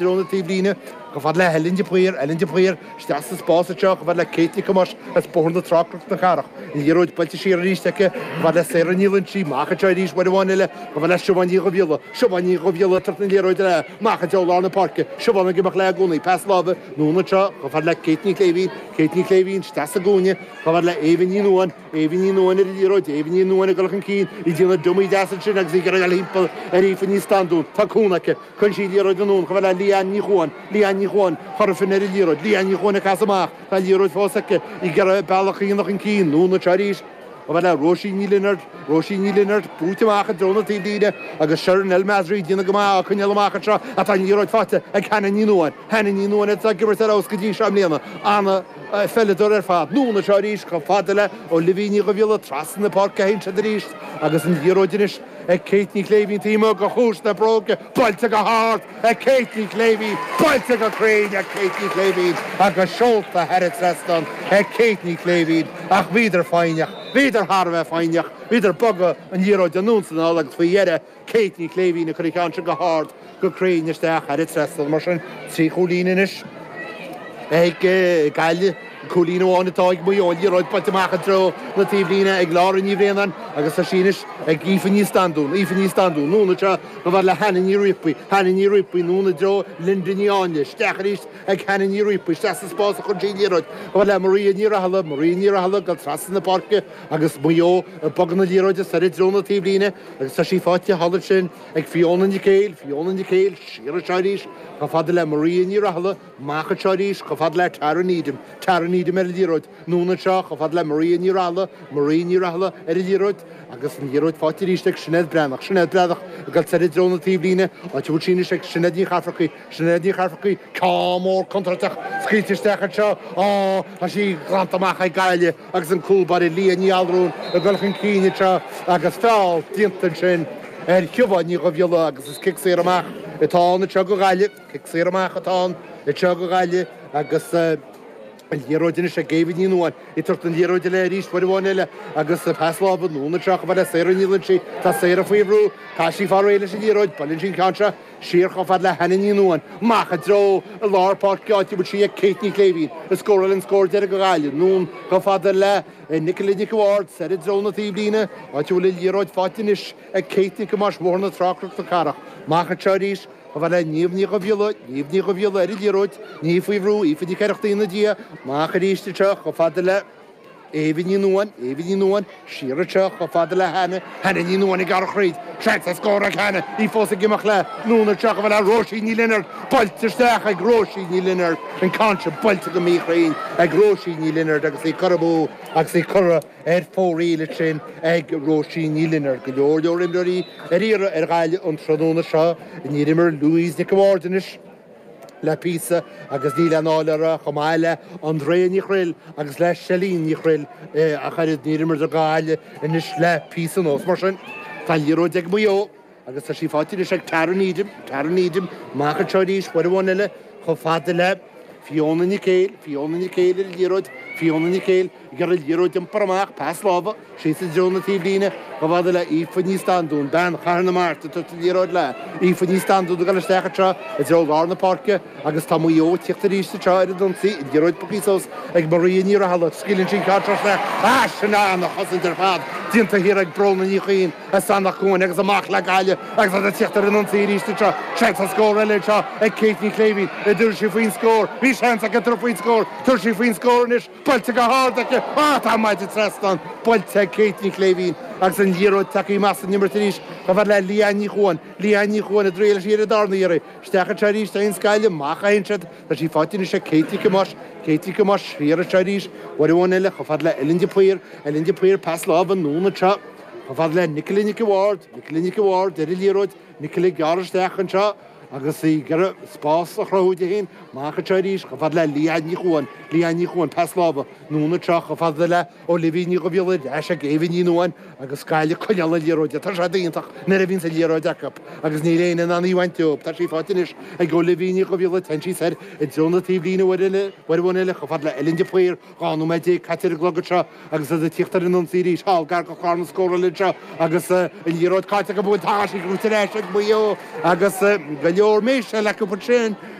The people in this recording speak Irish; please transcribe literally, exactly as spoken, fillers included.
Treo na taobhlíne, chomh fada le Helen de Paor, Helen de Paor, isteach sa spás anseo, chomh fada le Kate Nic Thomáis as Bóthar na Trá, Cnoc na Cathrach. An liathróid buailte siar arís aici, chomh fada le Sarah Ní Loinsigh, amach anseo arís uair amháin eile, chomh fada le Siobhán Ní Dhubhghiolla, Siobhán Ní Dhubhghiolla ag tabhairt na liathróide léi, amach i dtreo lár na páirce, Siobhán ag imeacht léi i gcónaí, pas láimhe, anonn anseo, chomh fada le Kate Ní Chléibhín, Kate Ní Chléibhín, isteach sa gcúinne, chomh fada le Éabha Ní Nuadháin, Éabha Ní Nuadháin ar an liathróid, Éabha Ní Nuadháin ag dul chun cinn, í ag déanamh dummy deas ansin agus í ag iarraidh dul thimpeall ar Aoife Ní Standún. Tá cúnamh aici. Cuireann sí an liathróid anonn chomh fada le Leanne Ní Chuan, Leanne Ní Chuan, Chorfin ar an liathróid, Leanne Ní Chuan ag casadh amach, tá an liathróid fós aici, í ag iarraidh bealach a dhéanamh chun cinn, anonn anseo arís chomh fada le Róisín Ní Lionáird, Róisín Ní Lionáird, buaite amach i dtreo na taobhlíne agus Sharon El Masri ag déanamh go maith á coinneáil amach anseo ach tá an liathróid faighte ag Hannah Ní Nuadháin, Hannah Ní Nuadháin atá ag imirt ar fheabhas go dtí seo i mbliana, an-pheileadóir ar fad. Anonn anseo arís chomh fada le Olivia Ní Dhubhghiolla trasna na páirce a théann siad arís agus an liathróid anois ag Kate Ní Chléibhín taobh amuigh de chuas na bróige, buailte go hard ag Kate Ní Chléibhín, buailte go cruinn ag Kate Ní Chléibhín agus seolta thar an trasnán ag Kate Ní Chléibhín ach bhíodar foighneach, bhíodar thar a bheith foighneach, bhíodar ag bogadh an liathróid anonn is anall agus faoi dheireadh Kate Ní Chléibhín ag cur an ceann sin go hard go cruinn isteach thar an trasnán. Mar sin, trí chúilín anois ag Gaillimh, cúilín amháin atá ag Maigh Eo, an liathróid buailte amach i dtreo na taobhlíne ag Laura Ní Bhraonáin agus tá sí anois ag Aoife Ní Standún, Aoife Ní Standún, anonn anseo chomh fada le Hannah Ní Riapaí, Hannah Ní Riapaí, anonn i dtreo Linda Ní Áinle, isteach arís ag Hannah Ní Riapaí, isteach sa spás a chuireann sí an liathróid chomh fada le Maria Ní Rathaille, Maria Ní Rathaille ag dul trasna na páirce agus Maigh Eo ag bogadh na liathróide soir i dtreo na taobhlíne agus tá sí faighte thall ansin ag Fiona Nic Éil, Fiona Nic Éil, siar anseo arís chomh fada le Maria Ní Rathaille, amach anseo arís chomh fada le Tara Needham, Tara Needham ar an liathróid, anonn anseo chomh fada le Maria Ní Rathaille, Maria Ní Rathaille ar an liathróid agus an liathróid faighte arís ag Sinéad Breathnach, Sinéad Breathnach ag dul soir i dtreo na taobhlíne, áit a bhfuil sí anois ag Sinéad Ní Chafarcaigh, Sinéad Ní Chafarcaigh, ceann mór contúirteach scaoilte isteach anseo, á, tá sí glanta amach ag Gaillimh agus an cúl báire Leah Ní Allrúin ag dul chun cinn anseo agus feall déanta ansin ar Shiobhán Ní Dhubhghiolla agus is cic saor amach atá ann anseo do Ghaillimh, cic saor amach atá ann anseo do Ghaillimh agus an liathróid anois ag Éabha Ní Nuadháin, ag tabhairt an liathróid léi arís uair amháin eile agus pas láimhe anonn anseo chomh fada le Sarah Ní Loinsigh, tá Sarah faoi bhrú, tá sí fáil réidh leis an liathróid, buaileann sí an ceann seo siar chomh fada le Hannah Ní Nuadháin, amach i dtreo lár páirce áit a bhfuil sí ag Kate Ní Chléibhín, a scóráil an scór deiridh do Ghaillimh, anonn chomh fada le Nicola Nic an Bhaird, soir i dtreo na taobhlíne, áit a bhfuil an liathróid faighte anois ag Kate Nic Thomáis Bhóthar na Trá Cnoc na Cathrach, amach anseo arís chomh fada le Niamh Ní Dhubhghiolla, Niamh Ní Dhubhghiolla ar an liathróid, Niamh faoi bhrú, Aoife Nic Oireachtaigh ina diaidh, amach arís anseo chomh fada le Éabha Ní Nuadháin, Éabha Ní Nuadháin, siar anseo chomh fada le Hannah, Hannah Ní Nuadháin ag gearradh thríd, seans ar scór ag Hannah, í fós ag imeacht léi, anonn anseo chomh fada le Róisín Ní Lionáird, buailte isteach ag Róisín Ní Lionáird, an ceann sin buailte go míchruinn ag Róisín Ní Lionáird agus í curtha amú agus í curtha ar fóraoil ansin ag Róisín Ní Lionáird. Go leor leor imreoirí ar iarraidh ar Ghaillimh an tráthnóna seo. Níor imir Louise Nic an Bhaird anois le píosa agus níl aon fháil uirthi chomh maith le Andrea Ní Chroill agus le Celine Ní Chroill ach oiread níor imir do Ghaillimh anois le píosa anuas. Mar sin, tá an liathróid ag Maigh Eo agus tá sí faighte anois ag Tara Needham, Tara Needham, amach anseo arís, uair amháin eile, chomh fada le Fiona Nic Éil, Fiona Nic Éil ar an liathróid, Fiona Nic Éil ag iarraidh an liathróid a iompar amach, pas láimhe, síos i dtreo na taobhlíne, chomh fada le Aoife Ní Standún, bean Chathair na Mart ag tabhairt an liathróid léi. Aoife Ní Standún ag dul isteach anseo i dtreo lár na páirce agus tá Maigh Eo ag tíocht arís anseo ar an ionsaí, an liathróid bogtha suas ag Maria Ní Rathaille, scaoileann sí an ceann seo isteach, ah sin an-chosaint ar fad déanta thiar ag Bróna Ní Chuinn. As Eanach Cuain agus amach le Gaillimh agus iad ag tíocht ar an ionsaí arís anseo. Seans ar scór eile anseo ag Kate Ní Chléibhín. An dtabharfaidh sí faoin scór. Bhí seans aici tabhairt faoin scór. Tabharfaidh sí faoin scór anois. Buailte go hard aici. Ah, tá maide trasnán buailte ag Kate Ní Chléibhín agus an liathróid tagtha amach as an imirt arís chomh fada le Leanne Ní Chuan. Leanne Ní Chuan ag triail sí ar an darna iarraidh. Isteach anseo arís a théanns Gaillimh. Amach a théann siad. Tá sí faighte anois ag Kate Nic Thomáis. Kate Nic Thomáis siar anseo arís. Uair amháin eile chomh fada le Ellen de Paor. Ellen de Paor pas láimhe anonn anseo. Chomh fada le Nicola Nic an Bhaird, Nicola Nic an Bhaird ar an liathróid, Nicola ag gearradh isteach anseo agus í ag iarraidh spás a chruthú di féin. Amach anseo arís chomh fada le Leanne Ní Chuan, Leanne Ní Chuan, pas láimhe, anonn anseo chomh fada le Olivia Ní Dhubhghiolla ar ais ag Éabha Ní Nuadháin agus Gaillimh ag coinneáil na liathróide. Tá sé iontach nuair a bhíonns an liathróid acu agus níl éinne in ann í a bhaint díobh. Tá sí faighte anois ag Olivia Ní Dhubhghiolla, téann sí soir i dtreo na taobhlíne uair eile, uair amháin eile chomh fada le Ellen de Paor. Dhá nóiméad déag caite ar an gclog anseo agus iad ag tíocht ar an ionsaí arís thall gar do chlár na scórála anseo agus an liathróid caillte acu bhuel tá sí gnóite ar ais ag Maigh Eo agus Gaillimh leor méise le ansin.